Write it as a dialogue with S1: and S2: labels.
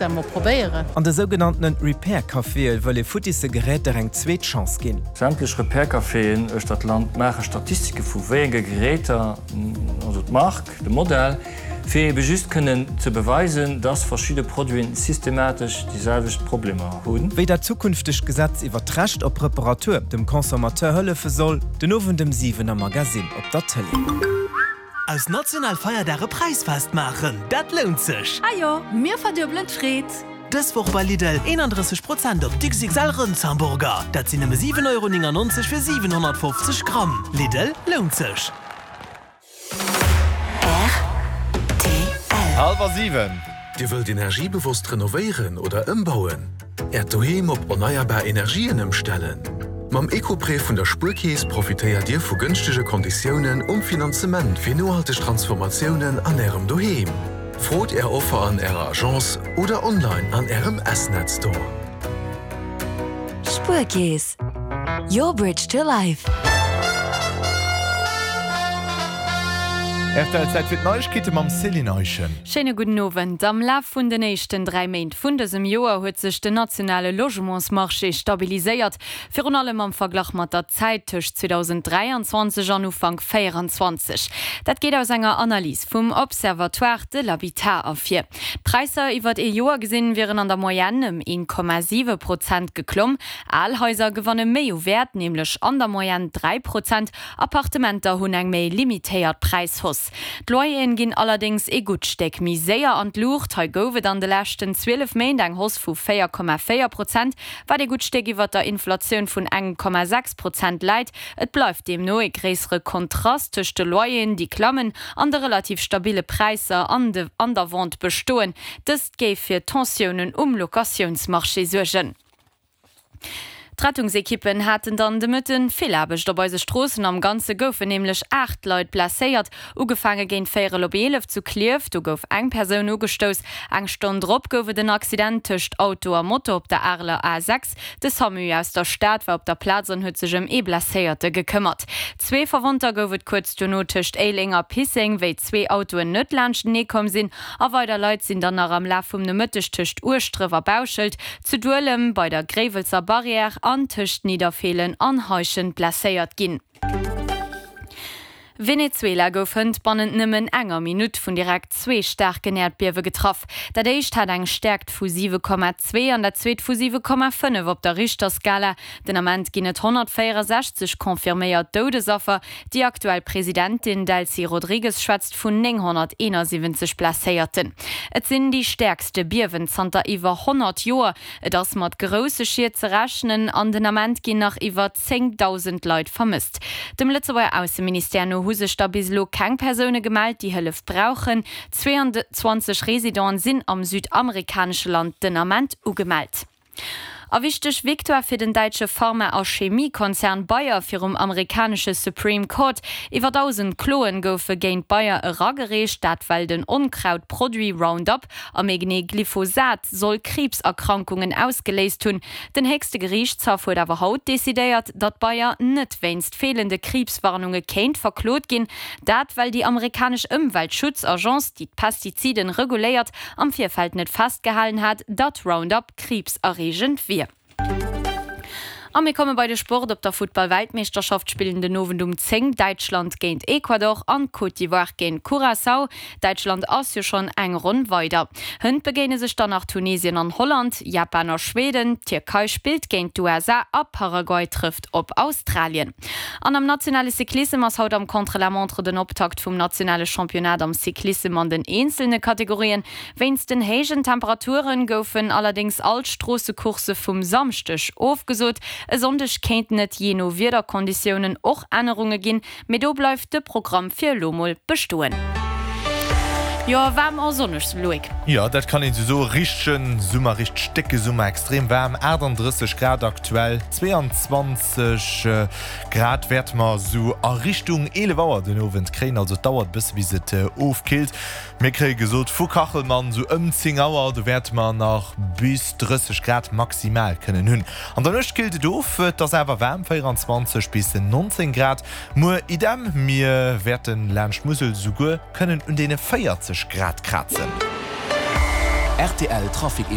S1: Emol probéieren.
S2: An de sougenanntene Repair Caféë wëll ee futtisse Geräter eng zweet Chance ginn.
S3: Sämtlech Repair Caféen uechter d'Land maache Statistike vu wéi enge Geräter, also d'Mark, de Modell, fir ebe just kënnen ze beweisen, dass verschidde Produiten systematesch déi selwecht Problemer hunn.
S2: Wéi dat zukünftegt Gesetz iwwer d'Recht op Reparatur dem Consommateur hëllefe soll, den Owend ëm 7 am Magasinn op der Tëlee.
S4: Aus national Feierdag e Präisfest maachen, dat lount sech!
S1: Ajo, mir verduebelen d'Freed!
S4: Dës Woch bei Lidl, 31 Prozent op d'XXL Rëndshamburger, dat sinn nëmme 7,99 Euro fir 750 Gramm. Lidl, lount sech!
S5: Rtl.
S6: Hallwer 7.
S5: Dir wëllt energiebewosst renovéieren oder ëmbauen? Äert Doheem op erneierbar Energien ëmstellen? Mam Eco-Prêt vun der Spuerkeess profitéiert Dir vu gënschtege Konditiounen um Finanzement fir nohalteg Transformatiounen an Ärem Doheem. Frot Är Offer an Ärer Agence oder online an Ärem S-Net Store.
S7: Spuerkeess, your bridge to life.
S6: Rtl, Zäit fir d'Neiegkeete mam Céline Eischen.
S8: Schéine gudden Owend. Am Laf vun den éischten 3 Méint vun dësem Joer huet sech den nationale Logementsmarché stabiliséiert, virun allem am Verglach mat der Zäit tëscht 2023 an Ufank 24. Dat geet aus enger Analys vum Observatoire de l'habitat ervir. D'Präisser iwwert ee Joer gesinn wieren an der Moyenne ëm 1,7 Prozent geklomm. Al Haiser gewanne méi u Wäert, nämlech an der Moyenne 3 Prozent. Appartementer hunn eng méi limitéiert Präishausse. D'Loyeren ginn allerdéngs ee gutt Stéck méi séier an d'Luucht. Hei gouf et an de leschten 12 Méint eng Hausse vu 4,4 Prozent, wat ee gutt Stéck iwwer der Inflatioun vun 1,6 Prozent läit. Et bleift deemno ee gréissere Kontrast tëscht de Loyeren, déi klammen, an de relativ stabille Präisser an der Vente bestoen. Dëst géif fir Tensiounen um Locatiounsmarché suergen. D'Rettungsekippen haten dann de Mëtten vill Aarbecht op eise Stroossen. Am Ganze goufen nämlech 8 Leit blesséiert. Ugefaange géint véierel op 11 zu Klierf, do gouf eng Persoun ugestouss. Eng Stonn drop gouf et en Accident tëscht Auto a Moto op der Areler A6. De Samu aus der Stad war op der Plaz an huet sech ëm ee Blesséierte gekëmmert. Zwee Verwonnter gouf et kuerz duerno tëscht Éiléng a Pisseng, wéi zwee Autoen net laanschtenee komm sinn. A weider Leit sinn dann nach am Laf vum Nomëtteg tëscht Ueschdref a Bauschelt, zu Duelem, bei der Gréiwelser Barrière an tëscht Nidderfeelen an Heischent blesséiert ginn. Venezuela gouf hënt bannent nëmmen enger Minutt vun direkt zwee staarken Äerdbiewe getraff. Dat éischt hat eng Stäerkt vu 7,2 an dat zweet vu 7,5 op der Richterskala. Den Ament ginn et 164 confirméiert Doudesaffer. Déi aktuell Presidentin Delcy Rodrigues schwätzt vun 971 Blesséierten. Et sinn déi stäerkste Biewen zanter iwwer 100 Joer. Et ass mat grousse Schied ze rechnen an den Ament ginn nach iwwer 10.000 Leit vermësst. Dem Lëtzebuerger Ausseministère no hu sech der bis elo keng Persoune gemellt, déi Hëllef brauchen. 22 Residenten sinn am südamerikanesche Land den Ament ugemellt. A wichteg Victoire fir den däitsche Pharma a Chemiekonzern Bayer virum amerikanesche Supreme Court. Iwwer 1.000 Kloen goufe géint Bayer eragereecht, dat well den Onkrautproduit Roundup, a méi genee Glyphosat, soll Kriibserkrankungen ausgeléist hunn. Den héchste Geriichtshaff huet awer haut decidéiert, datt Bayer net wéinst feelende Kriibswarnunge kéint verklot ginn. Dat well déi amerikanesch Ëmweltschutzagence, déi d'Pestiziden reguléiert, am Virfeld net festgehalen hat, datt Roundup kriibserreegend wier. A mir komme bei de Sport. Op der Futtball-Weltmeeschterschaft spillen den Owend um 10 Däitschland géint Ecuador an Côte d'Ivoire géint Curaçao. Däitschland ass jo schonn eng Ronn weider. Hënt begéine sech dann nach Tunesien an Holland, Japan a Schweden, d'Tierkei spillt géint d'USA a Paraguay trëfft op Australien. An am nationale Cyclissem ass haut am Contre-la-montre den Optakt vum nationale Championnat am Cyclissem an den eenzelne Kategorien. Wéinst den héijen Temperature goufen allerdéngs all d'Stroossecoursse vum Samschdeg ofgesot. E Sonndeg kéinten et jee no Wiederkonditiounen och Ännerunge ginn, mee do bleift de Programm fir elo mol bestoen. Jo, waarm a sonneg, Loïc.
S6: Jo, dat kann een sou soen. Richtegen Summer, richteg décke Summer, extrem waarm, 38 Grad aktuell, 22 Grad wäerte mer sou a Richtung 11 Auer den Owend kréien. Also et dauert e bësse bis et ofkillt. Mir kréie gesot vu Kachelmann, sou ëm 10 Auer, do wäerte mer nach bis 30 Grad maximal kënnen hunn. An der Nuecht killt et of, et ass awer waarm, 24 bis 19 Grad. Muer idem, mir wäerte laanscht d'Musel souguer kënnen un deene 40 Grad krazen.
S4: Rtl Trafic.